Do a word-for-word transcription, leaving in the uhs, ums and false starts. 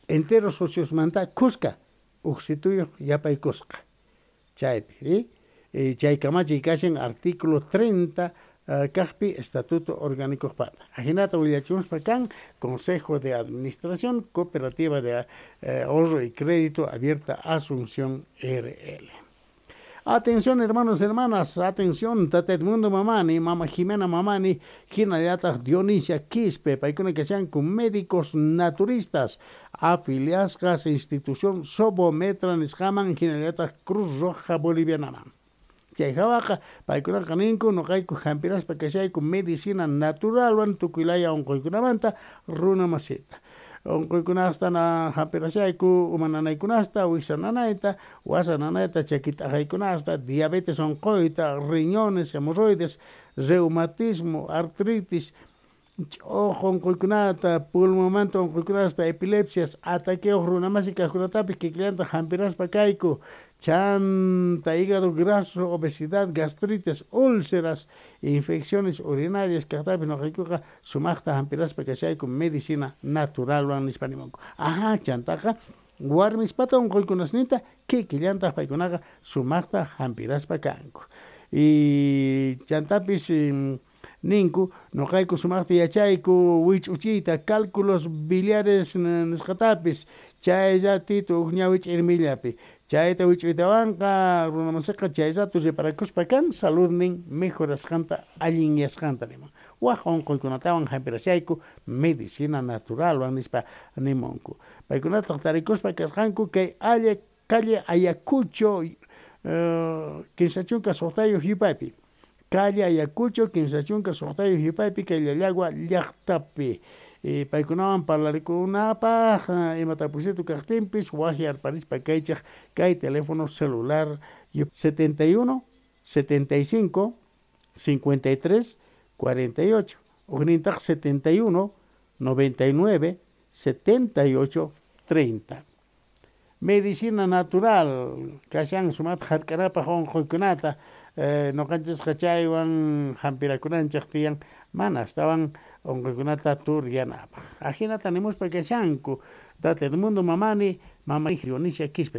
Entero sociosmanta kuska uqsituyuq yapaykusqa chaypi, chay kamachiy kashan artículo treinta kaqpi Estatuto Orgánicoqpata. Ajinata willachimuspa kan Consejo de Administración Cooperativa de Ahorro y Crédito Abierta Asunción R L. Atención, hermanos, hermanas, atención, Tata Edmundo Mamani, Mama Jimena Mamani, hinallataq Dionisia Quispe, paykuna kashanku médicos naturistas, afiliasqas institución Sobometra nisqaman, hinallataq Cruz Roja Bolivianaman. Chay hawaqa paykunaqa ninku nuqayku hampiraspa kashayku medicina naturalwan tukuylaya unquykunamanta runa masita. Unquykunasta na hampirashayku uma nanaykunasta, wiksa nanayta, wasa nanayta, chaki t'aqaykunasta, diabetes unquyta, riñones, hemorroides, reumatismo, artritis, ch'uq unquykunata, pulmonmanta unquykunasta, epilepsias, ataqueos runamasi kaqkunatapis kikillanta hampiraspa kayku, chanta, hígado graso, obesidad, gastritis, úlceras, infecciones urinarias kaqtapis nuqaykuqa sumaqta hampiraspa kashayku medicina naturalwan nispa nimunku. Ajá, chantaqa warmispata unquykunasninta kikillantaq paykunaqa sumaqta hampiraspa kanku. Y chantapis ninku nuqayku sumaqta yachayku wich'uchiyta cálculos biliares nisqatapis chay ratito huk ñawi ch'irmillapi. Chayta wich'uytawanqa runamasiqa chay rato reparakuspa kan saludnin mejorasqanta allinyasqanta nimun. Waq unquykunatawan hampirashayku medicina naturalwan nispa nimunku. Paykunataq tarikuspa kasqanku kay alla calle Ayacucho kinsa chunka suqtayuq yupaypi. Calle Ayacucho kinsa chunka suqtayuq yupaypi kay Llallagua llaqtapi. Paykunawan parlarikunapaq imata pusito kaqtinpis waqyarparispa kaychaq kay teléfono celular setenta y uno, setenta y cinco, cincuenta y tres, cuarenta y ocho, ujnintaq setenta y uno, noventa y nueve, setenta y ocho, treinta. Medicina natural, kashan sumat hark'anapaq unquykunata, nuqanchisqa chaywan hampirakunanchaq tiyan, mana astawan unquykunata turyanapaq. Ajinata nimuspa kashanku, Tata Edmundo Mamani, Mama Dionisia Quispe.